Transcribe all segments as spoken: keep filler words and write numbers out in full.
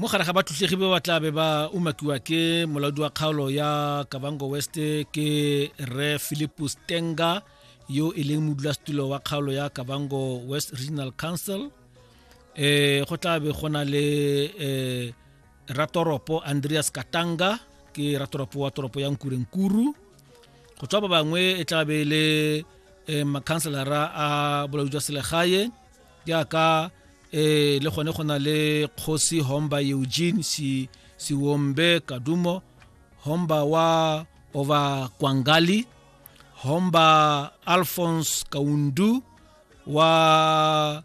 Mo gare ga batlotlegi ba ba tla be ba umakiwa ke molaodi wa kgaolo ya Kavango West ke Rre Philipus Tenga, yo e leng modulasetulo wa kgaolo ya Kavango West Regional Council. um go tla be go na le um ratoropo Andreas Katanga, ke ratoropo wa toropo ya Nkurenkuru. Go tswa ba bangwe e tla be e le um makhanselara a bolaodi jwa selegae, jaaka eh le gone go na le Kgosi Homba Eugene si Siwombe Kadumo, Homba wa Ova Kwangali, Homba Alphonse Kaundu wa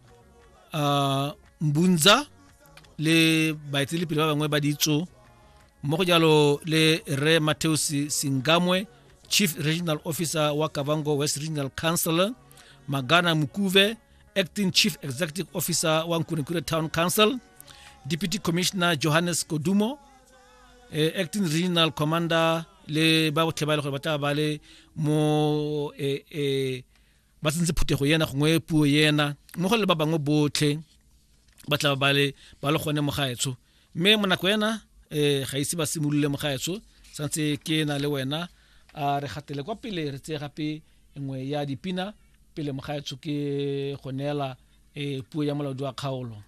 uh, Mbunza, le baeteledipele ba bangwe ba ditso mmogo jalo le Rre Mateus Singamwe, Chief Regional Officer wa Kavango West Regional Council, Magana Mukuve, Acting Chief Executive Officer wa Nkurenkuru Town Council, Deputy Commissioner Johannes Kodumo, eh, Acting Regional Commander, le ba botlhe ba e le gore ba tla ba le mo eh, eh, ba tsentse phuthego ena gongwe puo ena, mmogo le ba bangwe botlhe ba tla ba le ba le gone mogaetsho. Mme mo nako ena um ga ise ba simolole, mogaetsho, santse ke na le wena, a re gatele kwa pele, re tseye gape nngwe ya dipina pele, mogaetsho, ke go neela um puo ya molaodi wa kgaolo.